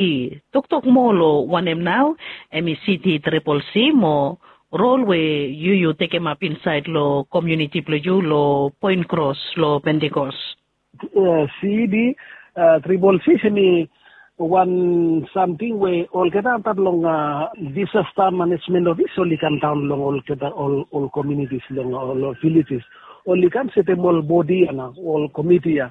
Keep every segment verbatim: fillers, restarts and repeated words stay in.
i toktok moa long wanem nau em i City Triple C mo rol we yu yu tekemap insaed long komuniti blong yu long Point Cross long Pentecost. City Triple C em i wan samting we olgeta antap long disasta manejmen ofis oli kam daon long olgeta ol komunitis long ol vilejes. Oli kam setem ol bodi ya na ol komiti ya.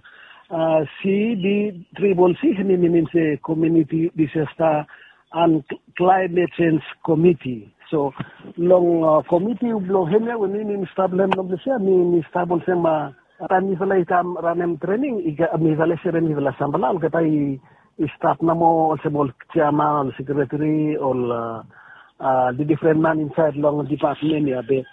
City Triple C em i minim se komuniti disasta and climate change komiti. So long komiti blong hemia we mi mi stap long hem long ples ya mi mi stap olsem taem mifala i kam ranem trening mifala i serem mifala sampela olgeta i stap namo olsem ol jeaman ol sekretari ol difren man insaed long dipatmen ya be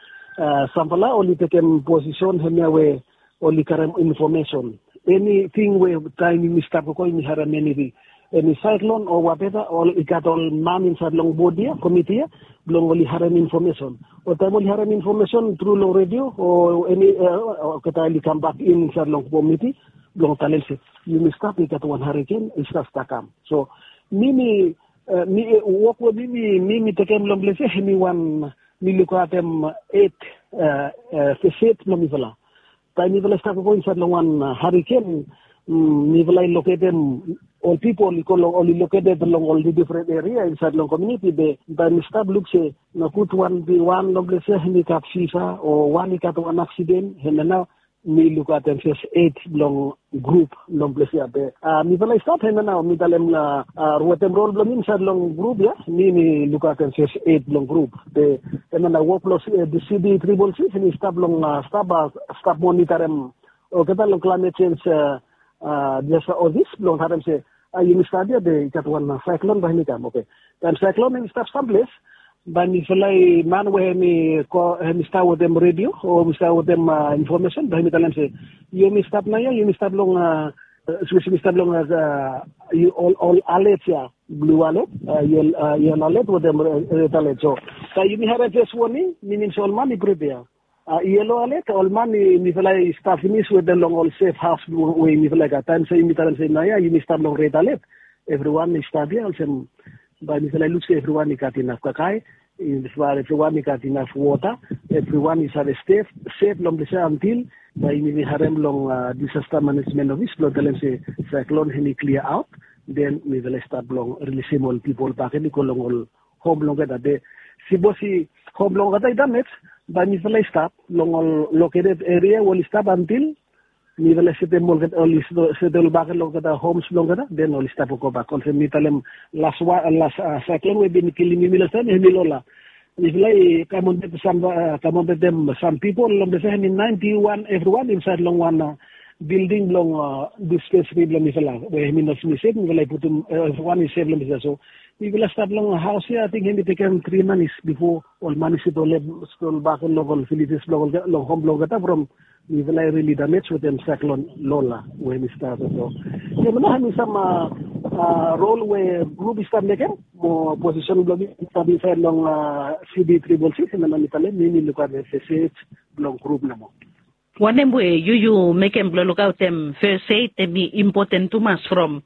sampela oli tekem posisen hemia we oli karem infomesen. Eniting we taem yumi stap gogo yumi harem eni eni saeklon o wateva ol i gat ol man insaed long bod ya komiti ya blong oli harem infomesen. O taem oli harem infomesen tru long redio o eni olgeta oli kambak in insaed long komiti blong talem se yumi stap i gat wan hariken i stap stap kam. So mi mi mi wok we mi mi mi mi tekem long ples ya hemi wan mi lukaotem et fes et blong mifala. Taem mifala i stap gogo insaed long wan hariken mifala i loketem ol pipol i go long oli loketed long ol difren eria insaed long komuniti be taem mi stap luk se nogud wan bi wan long ples ya hemi gat fiva o wan i gat wan aksiden hemia nao mi lukaotem fes et blong grup long ples ya be mifala i stap hemia nao mi talem wetem rol blong mi insaed long grup ya mi mi lukaotem fes et blong grup be hemia nao wok blong City Triple C hemi stap long stap stap monitarem olgeta long klaimet sens diasta ofis blong harem se yumi stap ya be i gat wan saeklon bae hemi kam. Oke, taem saeklon hemi stap samples bae mifala i man we hemi stap wetem redio o hemi stap wetem infomesen bae hemi talem se yumi stap nao ya yumi stap long sipos yumi stap long ol alet ya blu alet, yelo alet wetem red alet. So taem yumi harem fes woning minim se ol man i pripea. Yelo alet ol man i mifala i stap finis wetem long ol sef haos we mifala i gat taem se yumi talem se nao ya yumi stap long red alet. Evriwan i stap ya olsem bae mifala i luk se evriwan i gat inaf kakae, evriwan i gat inaf wota, evriwan i save stef sef long ples ya antil bae yumi harem long disasta manejmen ofis blong talem se saeklon hemi klia aot. Den mifala i stap blong rilisim ol pipol bakegen i go long ol hom blong olgeta be sipos i hom blong olgeta i damej bae mifala i stap long ol loketed eria we oli stap antil mifala i setem olgeta oli setem ol bakegen long olgeta homs blong olgeta den oli stap gobak olsem mi talem las saeklon we i bin kilim yumi lastaem hemi lola. Mifala i kam ontaet sam kam ontaetem sam pipol long ples ya hemi naenti wan evriwan insaed long wan bilding blong dispensari blong mifala we hemi no semi sef mifala i putum evriwan i sef long ples ya. So mifala stap long haos ya ating hemi tekem tri manis bifo ol manis i tolem stol bak long ol vilejes blong ol long hom blong olgeta from mifala i rili damej wetem saeklon lola we hemi stap. So hemia nao hemi sam rol we grup i stap mekem mo posisen blong mi i stap insaed long City Triple C hemia nao mi talem mi mi lukaotem fes et blong grup nomo. Wanem we yu yu mekem blong lukaotem fes et hemi impoten tumas from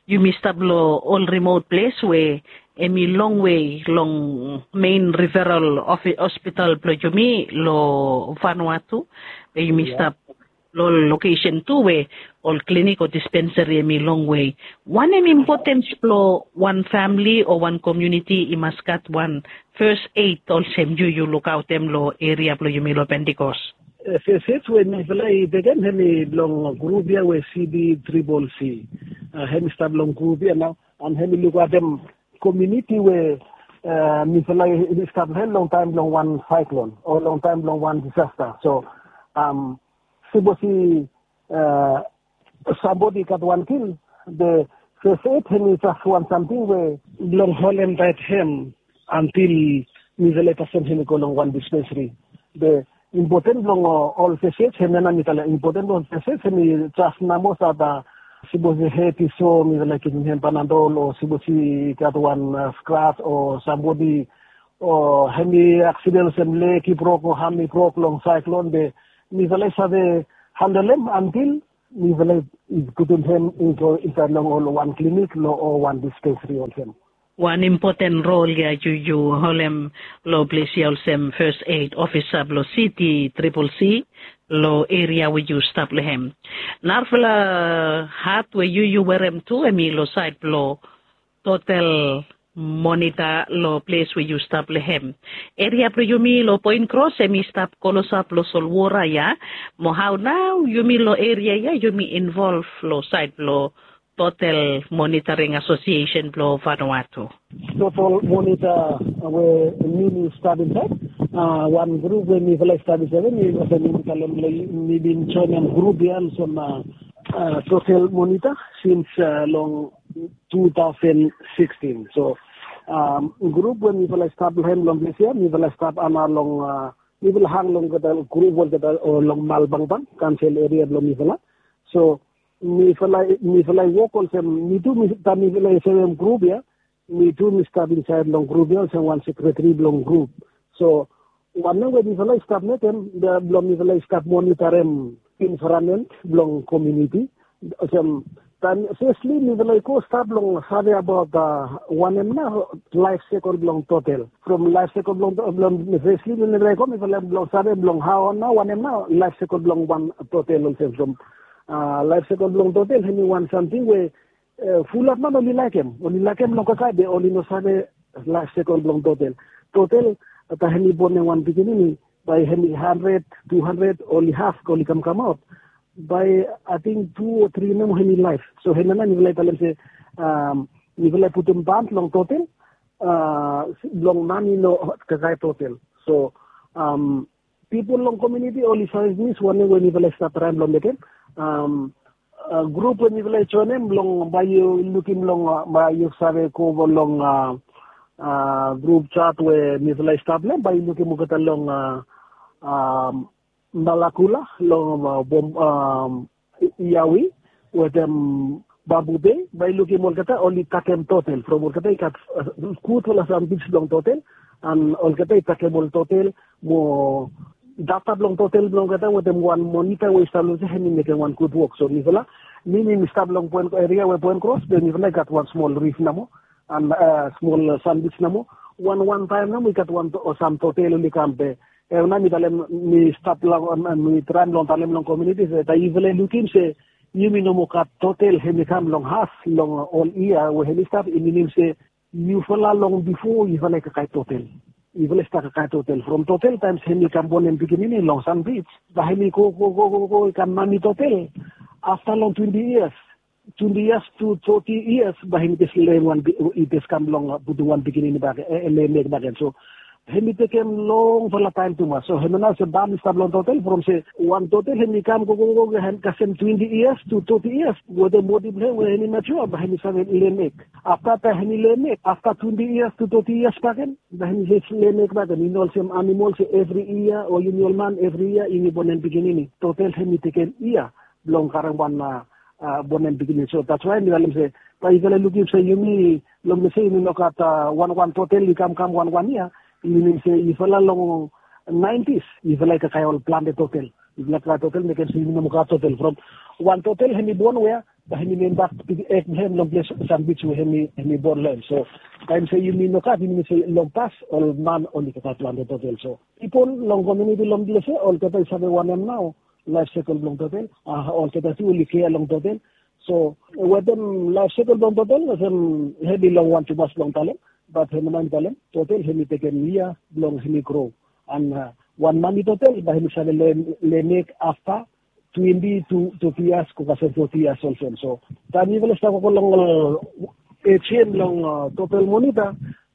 yumi stap long ol rimot ples we hemi longwe long mein riferal hospital blong yumi long Vanuatu be yumi stap long ol lokesen tu we ol klinik o dispensari hemi longwe. Wanem impotens blong wan famili o wan komuniti i mas gat wan fes et olsem yu yu lukaotem long eria blong yumi long Pentikos? Fes et we mifala i tekem hemi blong grup ya we City Triple C. Hemi stap long grup ya nao an hemi lukaotem komuniti we mifala i stap long hem long taem blong wan saeklon o long taem blong wan disasta. So sipos i sambodi i gat wan kil be fes et hemi jas wan samting we blong holem taet hem antil mifala i fasin hemi go long wan dispensari. Be impoten blong ol fes et hemia nao mi talem impoten blong ol fes et hemi jas namo sata sipos i het i so mifala i givim hem panadol o sipos i gat wan skras o sambodi o hemi aksiden olsem leg i brok o ham i brok long saeklon be mifala i save handolem antil Mifala i putum hem i go insaed long ol wan klinik long o wan dispensari olsem. Wan impoten rol ya yu yu holem long ples ya olsem fes ed ofisa blong siti tripel si long eria we yu stap long hem. Narafala hat we yu yu werem tu hem i long saed blong totel monita long ples we yu stap long hem. Eria blong yumi long poen kros hem i stap klosap long solwora ya. Mo hao nao yumi long eria ya yumi involv long saed blong totel monitaring asosiesen blong vanua tu? Totel monita we mi mi stap insaed, wan grup we mifala i stap insaed we mi olsem mi talem long mi bin joenem grup ya olsem totel monita sins long tu taosen sikstin. So grup we mifala i stap long hem long ples ya mifala i stap ana long mifala hang long olgeta grup olgeta o long malbangbang kansel eria blong mifala. So mifala mifala i wok olsem mi tu mi taem mifala i sevem grup ya mi tu mi stap insaed long grup ya olsem wan sekreteri blong grup. So wanem we mifala i stap mekem blong mifala i stap monitarem envaeramen blong komiuniti olsem taem fesli mifala i go stap long save abaot wanem nao laef sekol blong totel. From laef sekol blong fesli mifala i go mifala blong save blong hao nao wanem nao laef sekol blong wan totel olsem from laef sekol blong totel hem i wan samting we fulap man oli laekem oli laekem long kakae be oli no save laef sekol blong totel. Totel taem hem i bonem wan pikinini bae hem i handred tu handred oli haf oli kamkamaot bae ating tu o tri namo hem i laef. So hem ya nao mifala i talem se mifala i putum ban long totel blong man i no kakae totel. So pipol long komiuniti oli save pinis wanem we mifala i stap traem long mekem. Grup we mifala i joenem long bae yu lukim long bae yu save go long grup jat we mifala i stap long hem bae yu lukim olgeta long malakula long iawi wetem babu bei bae yu lukim olgeta oli takem totel from olgeta i gat gudfala sam bits blong totel an olgeta i takem ol totel mo data blong totel blong olgeta wetem wan monita we i stap long olsem hem i mekem wan gud wok so mifala mi mi mi stap long poen eria we poen kros be mifala i gat wan smol rif namo an smol sandwich namo wan wan taem namo i gat wan sam totel oli kam be em nao mi talem mi stap long mi traem long talem long komiuniti se taem yufala i lukim se yumi no moa gat totel hem i kam long haf long ol yia we hem i stap i minim se yufala long bifo yufala i kakae totel. Yufala i stap kakae totel from totel taem hem i kam bonem pikinini long sanbij bae hem i go go go go i kam mami totel afta long twenti yias twenti yias tu toti yias bae hem i jes lem wan i jes kam long putum wan pikinini bak lemek bak gen so hem i tekem longfala taem tumas so hem ya nao se bam i stap long totel from se wan totel hem i kam gogogo kasem twenti yias tu toti yias wetem bodi blong hem we hem i matua bae hem i save lemek afta taem hem i lemek afta twenti yias tu toti yias bakegen bae hem i jes lemek bakegen i no olsem animol se evri yia o yumi ol man evri yia yumi bonem pikinini totel hem i tekem yia blong karem wan bonem pikinini so that's why mi talem se bae yufala lukim se yumi long mese yumi no gat wanwan totel i kamkam wanwan yia i minim se yufala long naentis yufala i kakae ol plante totel. Yufala kakae totel mekem se yumi no moa gat totel from wan totel hem i bon wea bae hem i membak ek blong hem long ples sandwich we hem i bon long hem so taem se yumi no gat i minim se long pas ol man oli kakae plante totel so pipol long komiuniti long ples ya olgeta i save wanem nao laef sekol blong totel a olgeta tu oli kea long totel. So wetem laef sekol blong totel olsem hem i longwan tumas blong talem bat hem nao mi talem totel hem i tekem yia blong hem i gro an wan mami totel bae hem i save lemek afta twenti tu toti yias go kasem foti yias olsem so taem yufala i stap gogo long ol ejien blong totel monita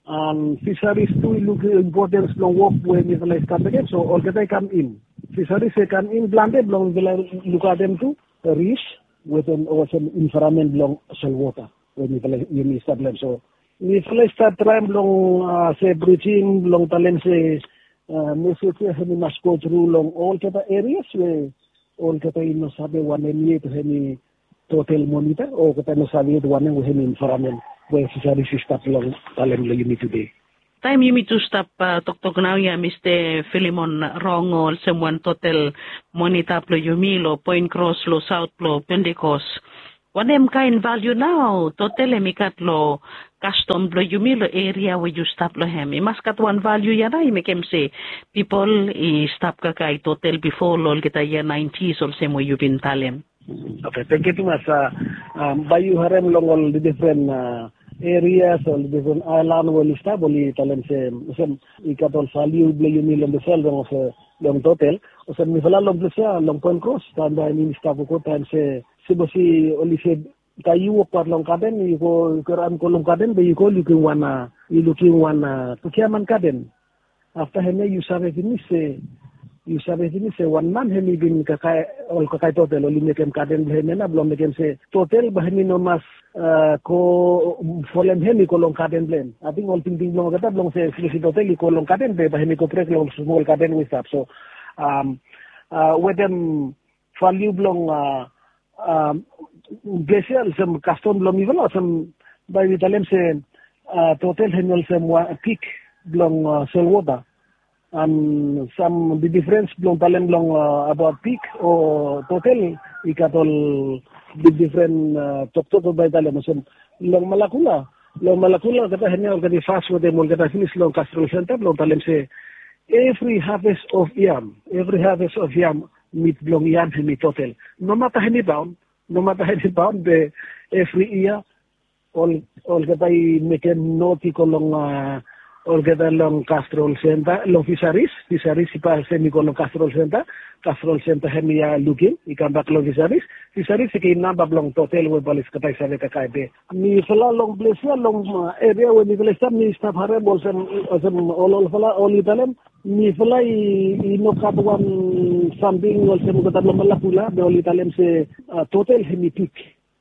an fisaris tu i lukim impotens blong wok we mifala i stap mekem so olgeta i kam in fisaris i kam in plante blong mifala lukaotem tu ris wetem olsem envaeramen blong solwota we mifala yumi stap long hem so mifala i stap traem blong se brijim blong talem se mesej ya hem i mas go tru long olgeta erias we olgeta i no save wanem yet hem i totel monita o olgeta i no save yet wanem we hem i envaeramen we fisaris i stap long talem long yumi tude. Taem yumi tu stap toktok naoia mista filimon rong olsem wan totel monita blong yumi long poen kros long saot blong pentikos, wanem kaen valiu nao totel hem i gat long kastom blong yumi long eria we yu stap long hem i mas gat wan valiu ya nao i mekem se pipol i stap kakae totel bifo long olgeta yia naentis olsem we yu bin talem. Oke, tengkiu tumas. Bae yu harem long ol difren erias ol difren aelan we oli stap oli talem se olsem i gat ol valiu blong yumi long dispela long olsem long totel olsem mifala long ples ya long poen kros taem bae yumi stap wokot taem se sipos i oli se taem yu wokbaot long gaden yu go yu go raon go long gaden be yu go lukim wan a yu lukim wan a kukiaman gaden. Afta hemia yu save pinis se yu save pinis se wan man hem i bin kakae ol kakae totel oli mekem gaden blong hem ya na blong mekem se totel bae hem i no mas a go folem hem i go long gaden blong hem. Ating ol tingting blong olgeta blong se sipos i totel i go long gaden be bae hem i go brek long smol gaden we i stap so a wetem valiu blong a a ples ya olsem kastom blong mifala olsem bae mi talem se a totel hem i olsem wan pik blong a solwota. An sam difrens blong talem blong a abaot pik o totel i gat ol difdifren a toktok we bae i talem olsem long malakula long malakula olgeta hem ya olgeta i fas wetem olgeta finis long kasrol senta blong talem se evri haves of yam evri haves of yam mit blong yam hem i totel. Nomata hem i baon nomata hem i baon be evri yia olgeta i mekem not i go long a olgeta long kasrol senta long fisaris fisaris i pas hem i go long kasrol senta. Kasrol senta hem i a lukim i kambak long fisaris fisaris i ken namba blong totel we balis kata i save kakae be. Mifala long ples ya long eria we mifala i stap mi stap harem olsem olsem ol olfala oli talem mifala i no gat wan samting olsem olgeta blong malakula be oli talem se totel hem i pik.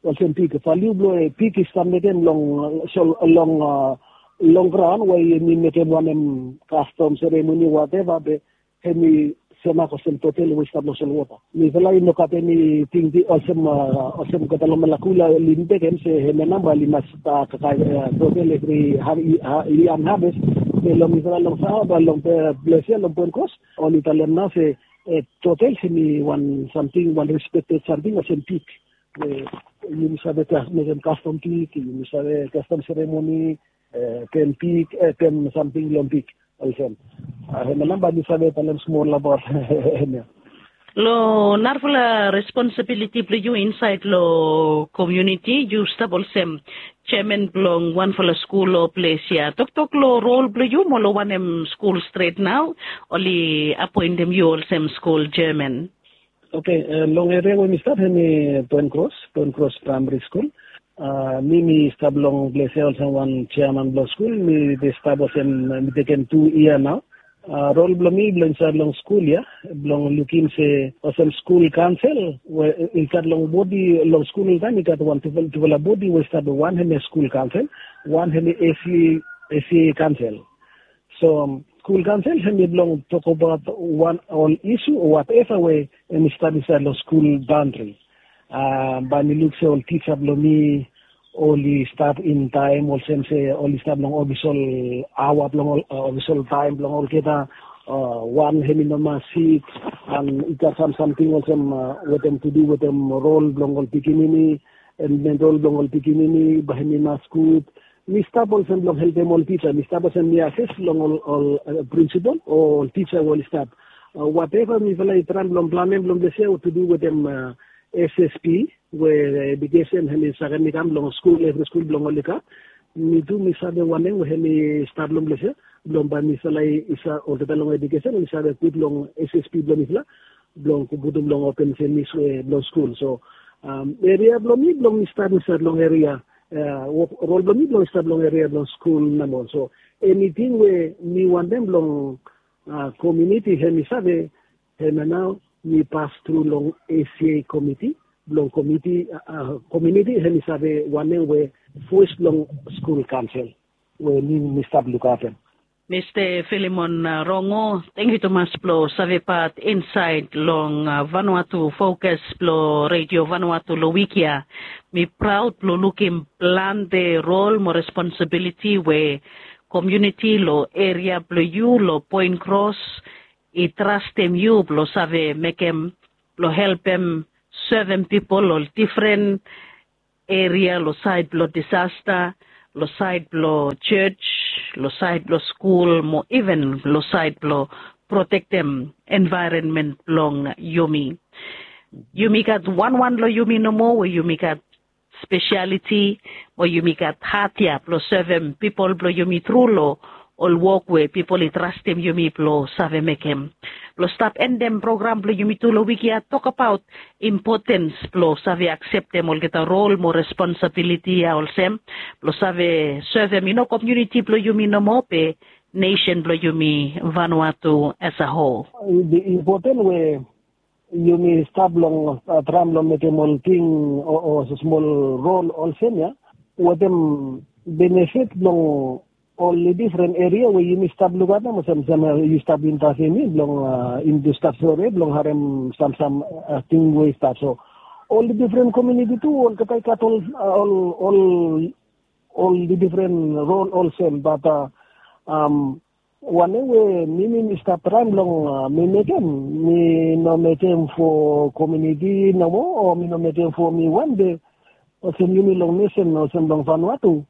Olsem pik valiu blong pik i stap mekem long long long graon we yumi mekem wanem kastom seremoni wateva be hem i semak olsem totel we i stap long solwota. Mifala i no gat eni tingting olsem olsem olgeta long malakula oli mekem se hem ya namba oli mas kakae totel evri i anhaves. Be long mifala long sava long ples ya long poen kros oli talem nao se totel hem i wan samting wan respekted samting olsem pik we yumi save mekem kastom pik yumi save kastom seremoni. Pen pik pen samting long pik olsem. Hem ya namba mi save talem smol abaot hem ya. Long narafala responsibiliti blong yu insaed long komuniti yu stap olsem jeman blong wanfala skul o ples ya toktok long rol blong yu mo long wanem skul stret nao oli apoentem yu olsem skul jeman? Oke, long eria we mi stap hem i poen kros poen kros praemari skul. Mi mi stap long ples ya olsem wan jeaman blong skul mi bin stap olsem mi tekem tu yia nao. Rol blong mi blong insaed long skul ya blong lukim se olsem skul kaonsel we i gat long bodi long skul oltaem i gat wan tufala bodi we i stap wan hem ya skul kaonsel wan hem ya esi esi kaonsel. So skul kaonsel hem ya blong tokabaot wan ol isu o wateva we hem i stap insaed long skul baondri. Bae mi luk se ol tisa blong mi oli stap in taem olsem se oli stap long ofisol aoa blong ol ofisol taem blong olgeta. Wan hem i no mas sik an i gat sam samting olsem wetem tudu wetem rol blong ol pikinini. Mental blong ol pikinini bae hem i mas gud. Mi stap olsem blong helpem ol tisa mi stap olsem mi ases long ol ol prinsipol o ol tisa we oli stap. Wateva mifala i traem blong planem blong ples ya tu du wetem ssp we edikesen hem i sakem i kam long skul evri skul blong oli gat. Mi tu mi save wanem we hem i stap long ples ya blong bae mifala i save olgeta long edikesen i save gud long ssp blong mifala blong putum long open semis we blong skul so eria blong mi blong mi stap insaed long eria. Rol blong mi blong i stap long eria blong skul namo so eniting we mi wantem blong komiuniti hem i save hem ya nao mi pas tru long esia komiti blong komiti komiuniti hem i save wanem we fos blong skul kaonsel we mi mi stap lukaotem. Mista filimon rongo, tengkiu tumas blong savepat insaed long vanua tu fokas blong redio vanua tu long wik ya. Mi praod blong lukim plante rol mo responsibiliti we komiuniti long eria blong yu long Poen Kros i trastem yu blong save mekem blong helpem sevem pipol long difren eria long saed blong disasta, long saed blong jos, long saed blong skul mo iven long saed blong protektem envaeronmen blong yumi. Yumi gat wanwan long yumi nomo we yumi gat spesialiti mo yumi gat hat ya blong sevem pipol blong yumi tru long ol wok we pipol i trastem yumi blong save mekem. Blong stap endem program blong yumi tu long wik ya, tokabaot impotens blong save akseptem olgeta rol mo responsabiliti ya olsem blong save sevem i no komiuniti blong yumi nomo be nesen blong yumi Vanuatu as a whole. Impoten we yumi stap long traem long mekem ol ting o smol rol olsem ya wetem benefit blong ol difren eria we yumi stap lukatem olsem yu stap intasemi blong yumi tu stap sore blong harem samsam ting we i stap so ol difren komiuniti tu olgeta i gat ol ol ol difren rol olsem bat wanem we mi mi mi stap traem long mi mekem mi no mekem fo komiuniti nomo o mi no mekem fo mi wan de olsem yumi long nesen olsem long Vanuatu.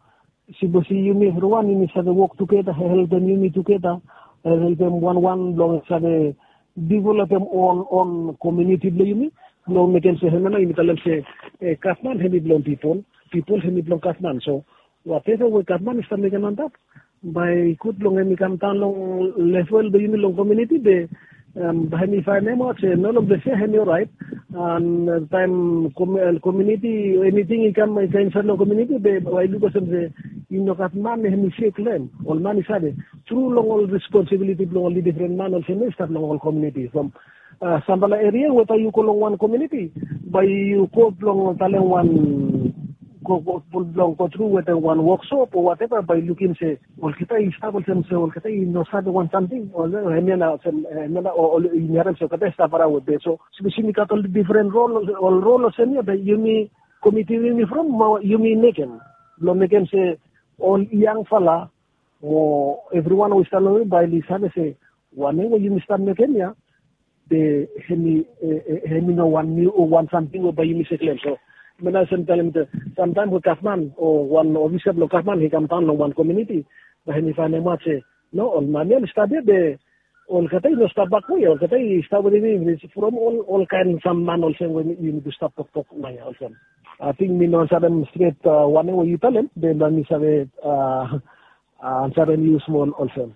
Sipos i yumi evriwan yumi save wok tugeta helpem yumi tugeta helpem wanwan blong save developem on on komiuniti blong yumi blong mekem se hemia nao yumi talem se gavman hem i blong pipol, pipol hem i blong gavman. So wateva we gavman i stap mekem antap bae i gud blong hem i kamdaon long level blong yumi long komiuniti be bae hem i faenem aot se no long ples ya hem i oraet. An taem komiuniti eniting i kam i kam insaed long komiuniti be bae i luk olsem se i no gat man hem i sek long hem. Ol man i save tru long ol responsibiliti blong ol difren man olsem ya i stap long ol komiuniti from sampela eria we bae yu go long wan komiuniti bae yu go blong talem wan blong go tru wetem wan woksop o wateva bae yu lukim se olgeta i stap olsem se olgeta i no save wan samting. Hemia nao olsem hemia nao ol yumi harem se olgeta i stap araon we be so sipos yumi gat ol difren rol ol rol olsem ya be yumi komiti yumi from mo yumi mekem blong mekem se ol yangfala mo evriwan we i stap long yumi bae oli save se wanem we yumi stap mekem ya be hem i no wan niu o wan samting we bae yumi save klem. So mena olsem talem samtaem we gavman o wan ofisa blong gavman i kamdaon long wan komiuniti bae hem i faenem aot se no ol man ya oli stap ya be olgeta i no stap bakwe ya olgeta i stap wetem yumi from ol olkaen sam man olsem we yumi tu stap toktok nao ya olsem. Ating mi no ansarem stret wanem we yu talem be bae mi save ansarem yu smol olsem.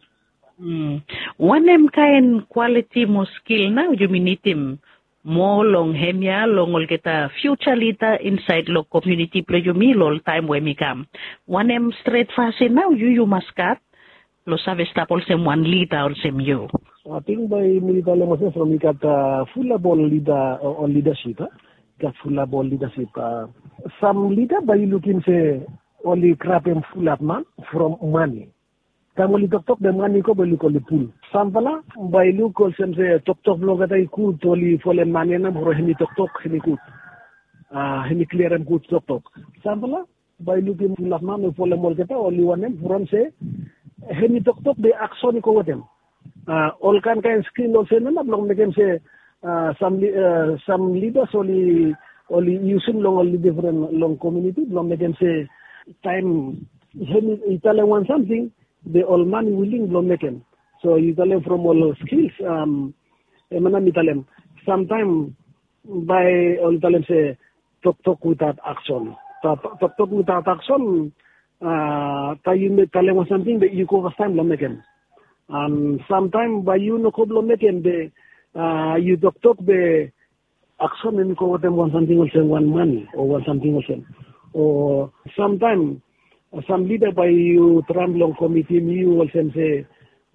Wanem kaen kwaliti mo skil nao yumi nidim moa long hemia long olgeta fiuja lida insaed long komiuniti blong yumi long ol taem we hem i kam? Wanem stret fasin nao yu yu mas gat blong save stap olsem wan lida olsem yu? Ating bae mi talem olsem from i gat fulap ol lida ol lidasip a i gat fulap ol lidasip a sam lida bae yu lukim se oli grabem fulap man from mane. Taem oli toktok be man i go bae i luk oli pul. Samfala bae i luk olsem se toktok blong olgeta i gud oli folem man ya nao from hem i toktok hem i gud. A hem i kliarem gud toktok. Samfala bae i lukim fulap man we folem olgeta oli wanem from se hem i toktok be akson i go wetem. A ol kaenkaen skil olsem ya nao blong mekem se a sam lidas oli oli yusim long ol difren long komiuniti blong mekem se taem hem i talem wan samting be ol man i wiling blong mekem. So yu talem from ol skils a em ya nao mi talem samtaem bae oli talem se toktok witaot akson. Toktok witaot akson a taem yu talem wan samting be yu go fastaem blong mekem. An samtaem bae yu no go blong mekem be a yu toktok be akson hem i go wetem wan samting olsem wan mane o wan samting olsem. O samtaem sam lida bae yu traem blong komitim yu olsem se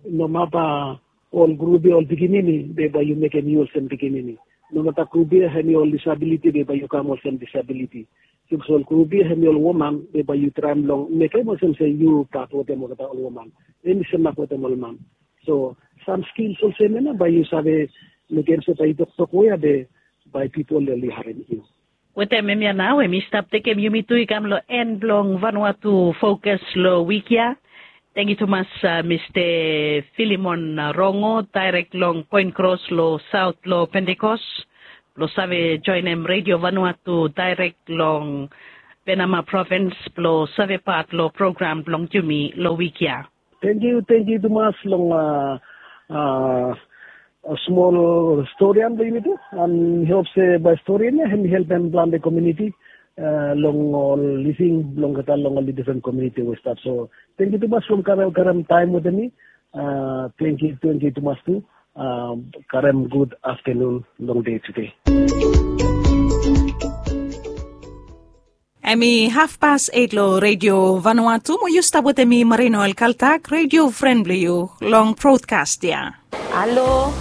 nomata ol grup ya ol pikinini be bae yu mekem yu olsem pikinini. Nomata grup ya hem i ol disabiliti be bae yu kam olsem disabiliti. Sapos ol grup ya hem i ol woman be bae yu traem long mekem olsem se yu pat wetem olgeta ol woman. Hem i semak wetem ol man. So sam skils olsem ya nao bae yu save mekem se bae yu toktok we ya be bae pipol oli harem yu. Wetem hemia nao hem i stap tekem yumi tu i kam long en blong Vanuatu Fokas long wik ya. Tangkiu tumas, Mista Filimon Rongo, daerek long Poen Kros long saot long Pentekos, blong save joenem Redio Vanuatu daerek long Penama provins blong save pat long program blong yumi long wik ya. Tangkiu, tangkiu tumas long smol storian blong yumi tu. An mi hop se bae storian ya hem i helpem plante komuniti long ol living blong olgeta long ol difren komuniti we i stap. So tangkiu tumas blong karem taem wetem mi. Tangkiu, tangkiu tumas tu. Karem gud aftanun long dei tude. Hem i hafpas eit long Redio Vanuatu, mo yu stap wetem mi Marino Elkaltak, redio fren blong yu long brodkas ya. Halo,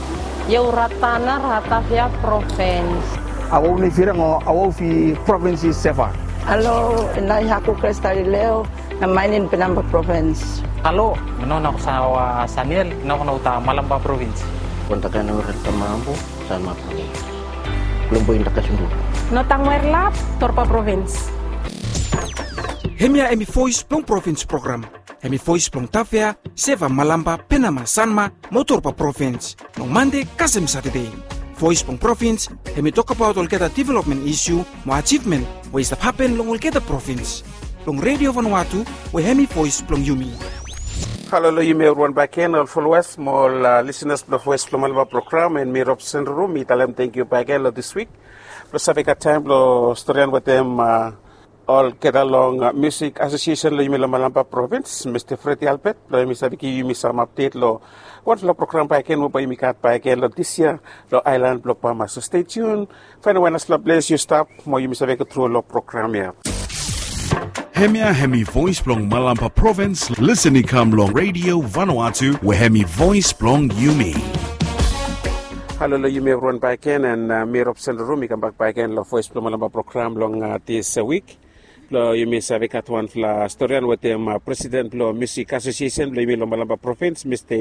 yu Ratana, Ratavia provins. Awau ni firang o awau fi provins i Seva. Halo, nai haku Kristalileo, na mainin Penamba provins. Halo, mi no na ko sawa Saniel, na ko na uta Malamba provins. Kontakan ore tamambu. Sanma provins. Blong boin takasundu. Notang Werlap, Torpa provins. Hemia hemi voes blong provins program. Hemi voes blong Tavea, Seva, Malampa, Penama, Sanma mo Torpa provins. Long Mande kasem Satade. Voes blong provins hemi tokbaot olgeta developmen isiu mo ajivmen we i stap hapen long olgeta provins. Long Redio Vanuatu we hemi voes blong yumi. Halo long yumi evriwan bakegen, ol folowas mo ol lisinas blong Voes blong Malampa program, and mi Robson Ruru, mi talem tangkiu bakegen long dis wik blong save gat taem blong storian wetem olgeta long Musik Asosiesen long yumi long Malampa provins, Mista Freddy Albert, blong hemi save givim yumi sam apdet long wanfala program bakegen we bae yumi gat bakegen long dis yia long aelan blong Bama. So stay tuned. Faenem we nasampela ples yu stap mo yumi save go tru long program ya. Hemia hemi voes blong Malampa provins, lisen i kam long Redio Vanuatu we hemi voes blong yumi. Halo long yumi evriwan bakegen, and mi Robson Ruru, mi kambak bakegen long Voes blong Malampa program long dis wik. Blong yumi save gat wanfala storian wetem presiden blong Musik Asosiesen blong yumi long Malampa provins, Mista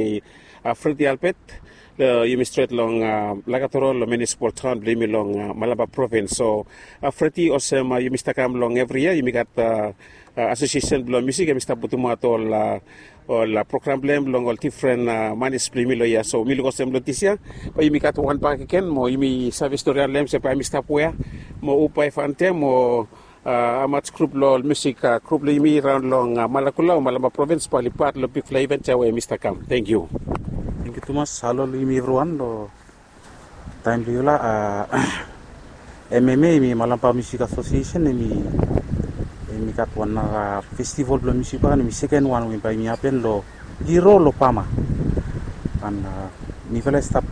Freddy Albert. Long yumi stret long Lakatoro long munisipal taon blong yumi long Malampa provins. So Freddy, olsem yumi stap kam long evri yia, yumi gat asosiesen blong musik, hemi stap putumaot ol ol program blong hem long ol difren manis blong yumi long yia. So mi luk olsem long dis yia bae yumi gat wan bakegen mo yumi save storian long hem se bae hemi stap wea mo hu bae fantem mo hamaj grup long ol musik grup long yumi raon long Malakula o Malampa provins bae oli pat long bigfala iven ya we hemi stap kam. Tangkiu. Tangkiu tumas. Halo long yumi evriwan long taem blong yufala. M M A, hemi Malampa Musik Asosiesen, hemi gat wan nara festival blong musik bae hemi sekenwan we bae hemi hapen long Liro long Bama. An mifala i stap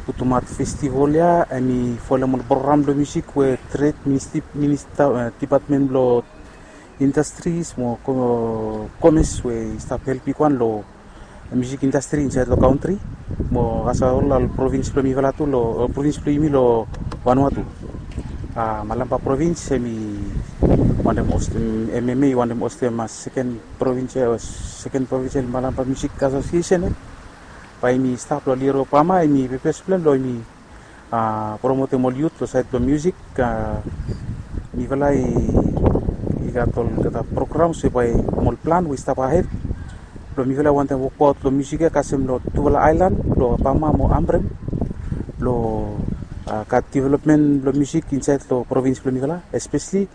putumaot festival ya, hemi folem ol program blong musik we tred minista, dipatmen blong indastris mo komes we i stap help bigwan long musik indastri insaed long kantri mo kasem ol provins blong mifala tu long provins blong yumi long Vanuatu. Malampa provins hemi wantem hostem, M M A i wantem hostem seken provins, seken provins Malampa Musik Asosiesen ya. Bae hemi stap long Liro Bama, hemi pepes blong hem long hemi promotem ol yut long saed blong musik. Mifala i gat olgeta programs we bae hem ol plan we i stap ahed blong mifala i wantem wokbaot long musik ya kasem long tufala aelan blong Bama mo Ambrym blong gat developmen blong musik insaed long provins blong mifala, espeseli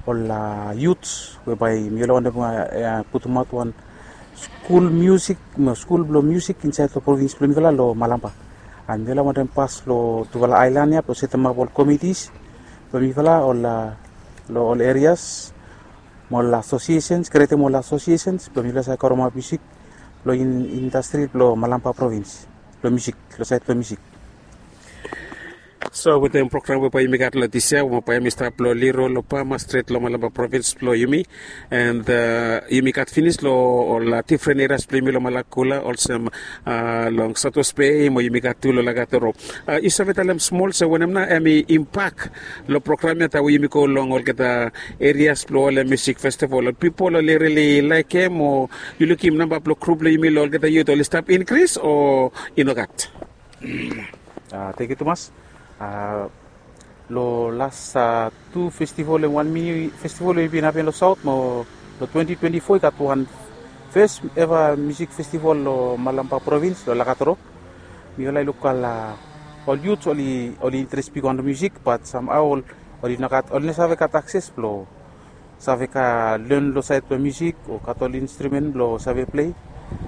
ol yut we bae mifala i wantem putumaot wan skul musik mo skul blong musik insaed long provins blong mifala long Malampa. An mifala i wantem pas long tufala aelan ya blong setemap ol komitis blong mifala ol long ol erias mo ol asosiesens, krietem ol asosiesens blong mifala save karemap musik long indastri blong Malampa provins blong musik, long saed blong musik. So wetem program we bae yumi gat long dis yia, we bae hemi stap long Liro long Bama, stret long Malampa provins blong yumi, and yumi gat finis long ol difren erias blong yumi long Malakula, olsem long South West Bay, mo yumi gat tu long Lakatoro. Yu save talem smol se wanem nao hemi impak long program ya taem we yumi go long olgeta erias blong ol musik festival? Ol pipol oli rili laekem, o yu lukim namba blong grup blong yumi long olgeta yut oli stap inkris o i nogat? Tangkiu tumas. Long las tu festival, wan mini festival we i bin hapen long saot mo long twenti twenti fo i gat wan Fes eva musik festival lo Malampa provins lo Lakatoro. Mifala i luk ol, ol yut oli, oli interes bigwan lo musik, bat samhao oli nogat, oli no save gat akses blo save ka len lo saed blo musik o gat ol instrumen blo save plei.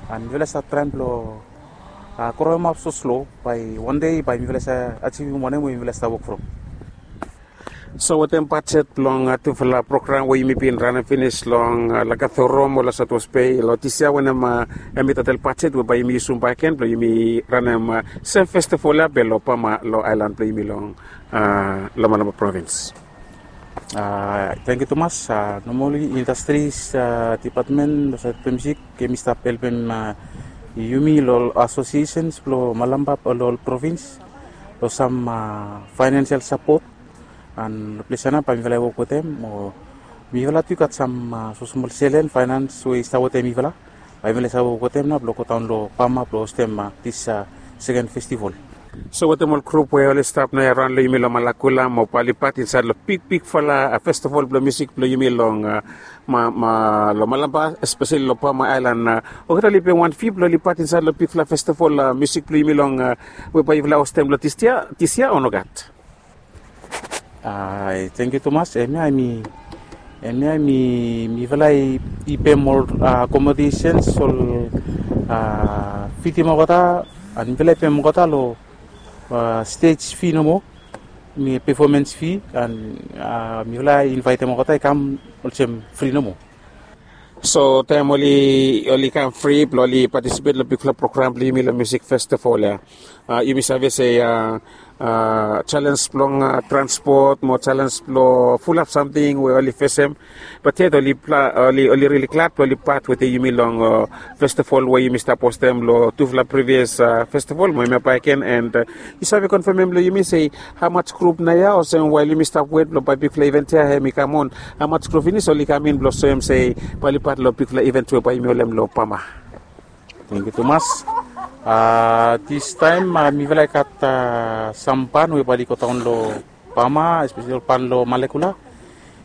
An mifala i stap traem blo, a, growem ap soslo, bae wan dei bae mifala i save ajivim wanem we mifala i stap wok from. So wetem bajet blong, a, tufala program we yumi bin ranem finis long, a, Lakatoro mo lo Saotwes Bei lo dis yia, wanem, a, hemi total bajet we bae yumi yusum bakegen blong yumi ranem, a, sem festival ya be lo Bama lo aelan blong yumi long, a, Malampa provins. A, tangkiu tumas. A, nomali indastris, a, dipatmen lo saed blo musik hemi stap helpem, a, yumi lo ol asosiesens blo Malampa lo ol provins lo sam, a, faenansial sapot. An lo ples ya nao bae mifala i wok wetem, o mifala tu i gat sam, a, smosmol selen faenans we i stap wetem mifala. Bae mifala i save wok wetem nao blo godaon lo Bama blo hostem, a, dis, a, seken festival. So wetem ol grup we oli stap naoia raon lo yumi lo Malakula mo bae oli pat insaed lo bigbigfala, a, festival blo musik blo yumi long, a, Ma, Ma, lo Malampa, espeseli lo Bama aelan, a, olgeta oli pem wan fi blo oli pat insaed lo bigfala festival, a, musik blo yumi long, a, we bae yufala hostem lo dis yia, dis yia o nogat? A, tangkiu tumas. Hemia hemi, hemia hemi, mifala i, i pem ol, a, akomodesens, ol, a, fidim olgeta, an mifala i pem olgeta lo, a, stej fi nomo, mi pefomens fi, an, a, mifala i invaetem olgeta i kam olsem fri nomo. So taem oli, oli kam fri blo oli patisipet lo bigfala program blo yumi lo musik festival ya, a, yumi save se, a, a, jalenj blong, a, transpot mo jalenj blo fulap samting we oli fesem. Bat yet oli, oli, oli rili glad blo oli pat wetem yumi long, a, festival we yumi stap hostem lo tufala privias, a, festival mo hemia bakegen, an, a, yu save konfemem lo yumi se hamas grup naoia, olsem wael yumi stap wet blo bae bigfala iven ya hemi kam on, hamas grup finis oli kam in blo soem se bae oli pat lo bigfala iven we bae yumi holem lo Bama? Tangkiu tumas. A, distaem, a, mifala i gat, a, sam ban we bae oli godaon lo Bama, espeseli ol ban lo Malakula.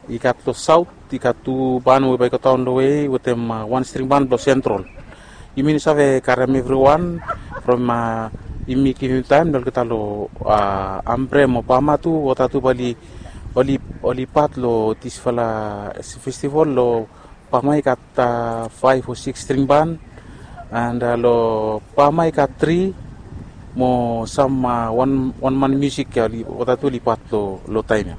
I gat lo saot, i gat tu ban we bae i godaon lo we wetem, a, wan string ban blo Sentral. Yumi no save karem evriwan from, a, yumi givim taem lo olgeta lo, a, Ambre mo Bama tu, olgeta tu bae oli, oli, oli pat lo disfala festival. Lo Bama i gat, a, faef o sikis string ban, an, a, lo Bama i gat tri mo sam, a, wan, wan man musik ya oli, olgeta tu oli pat lo, lo taem ya.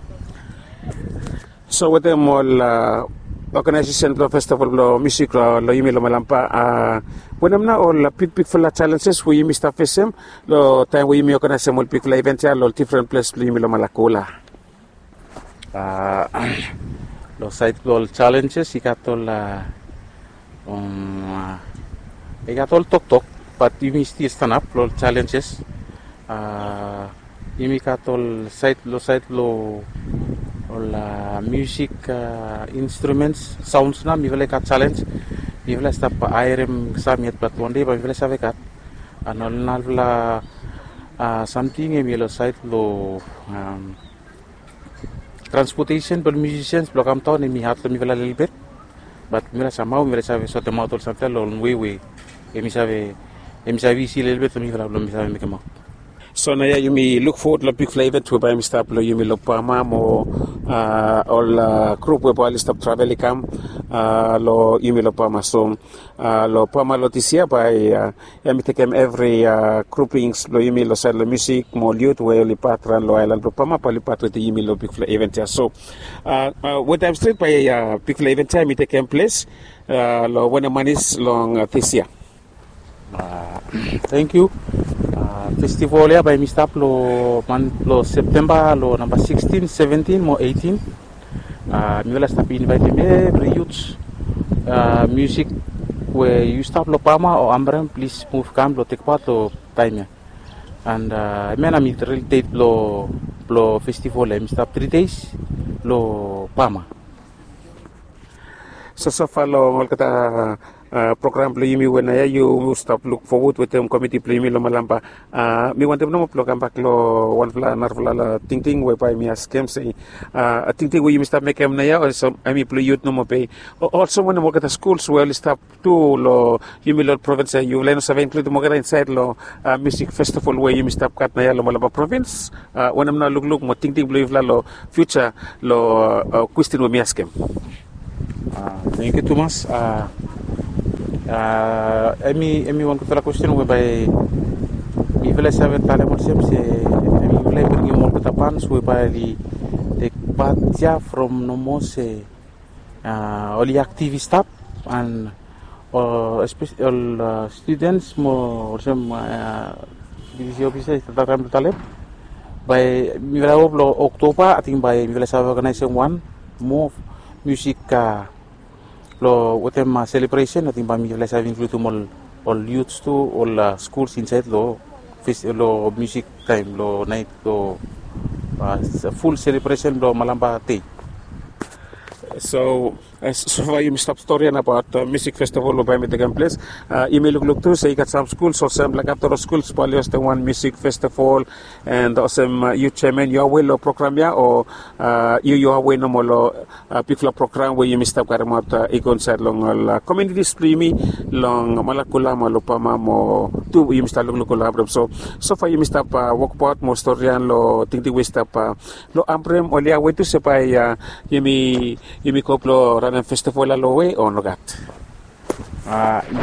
So wetem ol, a, oganaesesen blo festival blo musik lo, lo yumi lo Malampa, a, wanem nao ol, a, bigbigfala jalenjes we yumi stap fesem lo taem we yumi oganaesem ol bigfala iven ya lo ol difren ples blo yumi lo Malakula? A, lo saed blo ol jalenjes i gat ol, a, um, a, i gat ol toktok, bat yumi stil stanap lo ol jalenjes. A, yumi gat ol saed, lo saed blo ol, a, musik, a, instrumens, saons nao, mifala i gat jalenj. Mifala i stap haerem sam yet, bat wan dei bae mifala i save gat. An ol narafala, a, samting hemi lo saed blo, am, transpotesen blo ol musisians blo kam daon hemi had lo mifala lelebet. Bat mifala samhao mifala i save sotemaot ol samting ya lo wan wei we hemi save, hemi save isi lelebet lo mifala blo mi save mekemaot. So naoia yumi luk fowod lo bigfala iven we bae hemi stap lo yumi lo Bama mo, a, ol, a, grup we bae oli stap travel i kam, a, lo yumi lo Bama. So, a, lo Bama lo dis yia bae, a, hemi tekem evri, a, grupings blo yumi lo saed lo musik mo ol yut we oli pat raon lo aelan blo Bama bae oli pat wetem yumi lo bigfala iven ya. So, a, a, wan taem stret bae, a, bigfala iven ya hemi tekem ples, a, lo wanem manis long, a, dis yia? A, tangkiu. A, festival ya bae hemi stap lo man, lo Septemba lo namba sikstin, seventin mo eitin. A, mifala i stap invaetem evri yut, a, musik we yu stap lo Bama o Ambre, plis muv kam blo tek pat lo taem ya. An, a, hemia nao hemi ril det blo, blo festival ya, hemi stap tri deis lo Bama. So sofa long olgeta program blong yumi we naoia yu stap luk fowod wetem komiti blong yumi long Malampa. Mi wantem nomo blong kambak long wanfala narafala tingting we bae mi askem se tingting we yumi stap mekem naoia olsem hemi blong yut nomo be olsem wanem olgeta skuls we oli stap tu long yumi long provins ya yufala i no save inkludim olgeta insaed long musik festival we yumi stap gat naoia long Malampa provins? Wanem nao lukluk mo tingting blong yufala long fiuja long kwestin we mi askem? Tengkiu tumas. Hemi hemi wan gudfala kwestin we bae mifala i save talem olsem se hemi mifala i bringim olgeta bans we bae oli tek pat ya from nomo se oli aktiv i stap an ol studens mo olsem disi ofisa i stap traem blong talem bae mifala i wok long Oktoba ating bae mifala i save oganaesem wan moa musik long wetem selebresen ating bae mifala i save inkludim ol ol yuts tu ol skuls insaed long musik taem long naet long ful selebresen blong Malampa dei. So sofa yumi stap stori ya abaot musik festival we bae mi tekem ples. Yumi lukluk tu se i gat sam skuls olsem Lakatoro skuls bae oli hostem wan musik festival. And olsem yu jeaman yu awe long program ya o yu yu awe nomo long bigfala program we yumi stap karemaot i go insaed long ol kominitis blong yumi long Malakula mo long Pama mo tu yumi stap lukluk long Ambrem. So sofa yumi stap wokbaot mo stori ya long tingting we i stap long Ambrem oli awe tu se bae yumi yumi go blong ranem festival ya long we o nogat?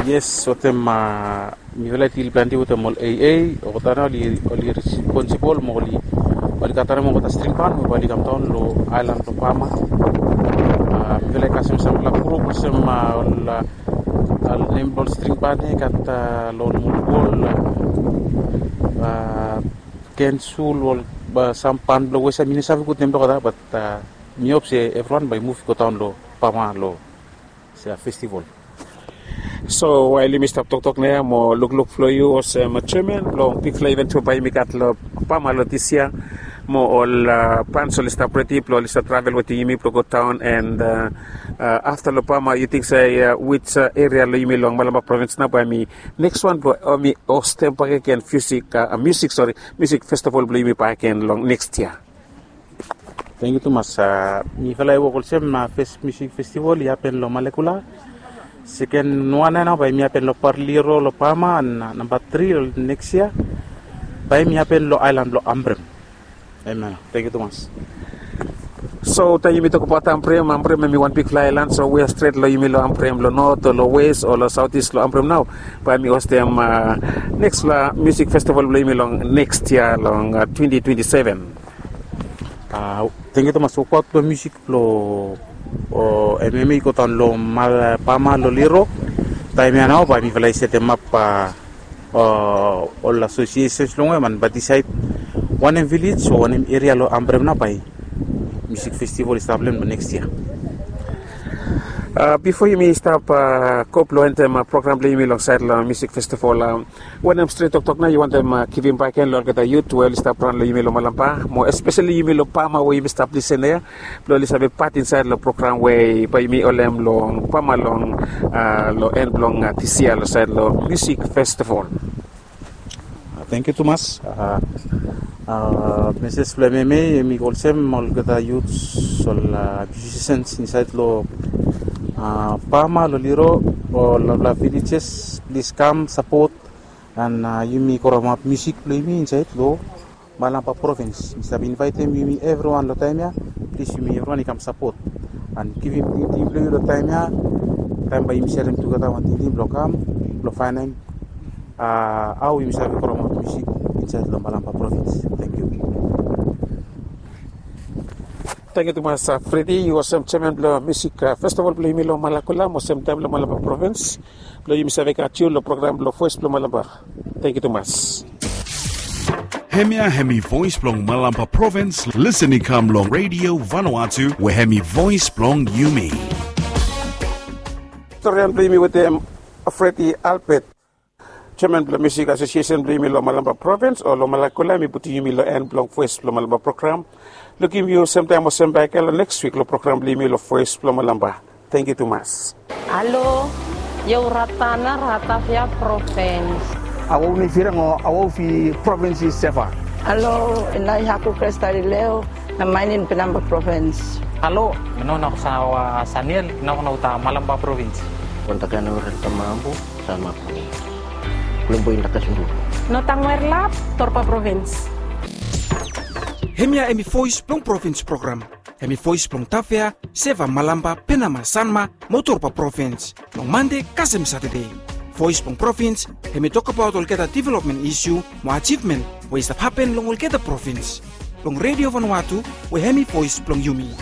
Yes wetem mifala i dil plante wetem ol AA olgeta nao oli responsibol mo oli oli gat wanem olgeta string ban we bae oli kamdaon long aelan blong Pama. Mifala i kasem samfala grup olsem ol nem blong ol string ban ya i gat long ol molbol kensul ol sam ban blong wesa mi no save gud nem blong olgeta bat mi hop se evriwan bae i muv i godaon long Pama long festival. So wael yumi stap toktok naoia mo lukluk blong yu olsem jeaman blong bigfala iven we bae yumi gat long Pama long dis yia mo ol bans oli stap redi blong oli stap travel wetem yumi blong godaon and afta long Pama yu ting se wij eria long yumi long Malampa provins nao bae mi neks wan blong mi hostem bakegen musik musik sori musik festival blong yumi bakegen long neks yia? Tengkiu tumas. Mifala i wok olsem fes musik festival i hapen long Malakula. Seken wan ya nao bae mi hapen long Parliro long Pama an namba tri long neks yia bae mi hapen long aelan blong Ambrem. Amen. Tengkiu tumas. So taem yumi tokbaot Ambrem Ambrem hemi wan bigfala aelan so we ya stret long yumi long Ambrem long not o long wes o long saotis long Ambrem nao bae mi hostem neksfala musik festival blong yumi long neks yia long twenti twenti seven. Tengkiu tumas. Wokbaot blong musik blong MMA i godaon long Pama long Liro. Taem ya nao bae mifala i setemap ol asosiesens long we man bae disaed wanem vilej o wanem eria long Ambrem nao bae musik festival i stap long hem long neks yia. Bifo yumi stap go blong entem program blong yumi long saed long musik festival, wanem stret toktok nao yu wantem givim bakegen long olgeta yut we oli stap raon long yumi long Malampa mo espeseli yumi long Pama we yumi stap lisen ya blong oli save pat insaed long program we bae yumi holem long Pama long long en blong dis yia long saed long musik festival? Tengkiu tumas. Meses blong MMA hemi go olsem olgeta yuts ol musisens insaed long Pama long Liro ol narafala vilejes plis kam sapot an yumi kromap musik blong yumi insaed long Malampa provins. Mi stap invaetem yumi evriwan long taem ya plis yumi evriwan i kam sapot an givim tingting blong yu long taem ya. Taem bae yumi serem tugeta wan tingting blong kam blong faenem hao yumi save kromap musik insaed long Malampa provins. Tengkiu. Tengkiu tumas Fredi, yu olsem jeaman blong musik festival blong yumi long Malakula mo olsem taem long Malampa provins blong yumi save gat yu long program blong Voes blong Malampa. Tengkiu tumas. Hemia hemi Voes blong Malampa provins. Lisen i kam long Radio Vanuatu we hemi voes blong yumi. Storian blong yumi wetem Fredi Albert, jeaman blong musik asosiesen blong yumi long Malampa provins o long Malakula, hemi putum yumi long en blong Voes blong Malampa program. Lukim yu semtaem o sembae gen long neks wik long program blong yumi long Voes blong Malampa. Thank you tumas. Alo, io Ratana, Ratavia Provins. Awo mi firang o awo fi provins i seva. Alo, inai haku Kresta Rileo, na mainin Penamba Provins. Alo, mi no na sawa Saniel, na na uta Malamba Provins. Kontakana uren tamambu, Salma Provins. Kulumbu inda kasundu. No tangwer lap, Torpa Provins. Hemia hemi voice blong provins program. Hemi voice blong Tavea, Seva, Malamba, Penama, Sanma, mo Torpa provins. Long Mande kasem Satade. Voice blong provins, hemi tokbaot olgeta development isu, mo ajivmen, we i stap hapen long olgeta provins. Long Radio Vanuatu, we hemi voice blong yumi.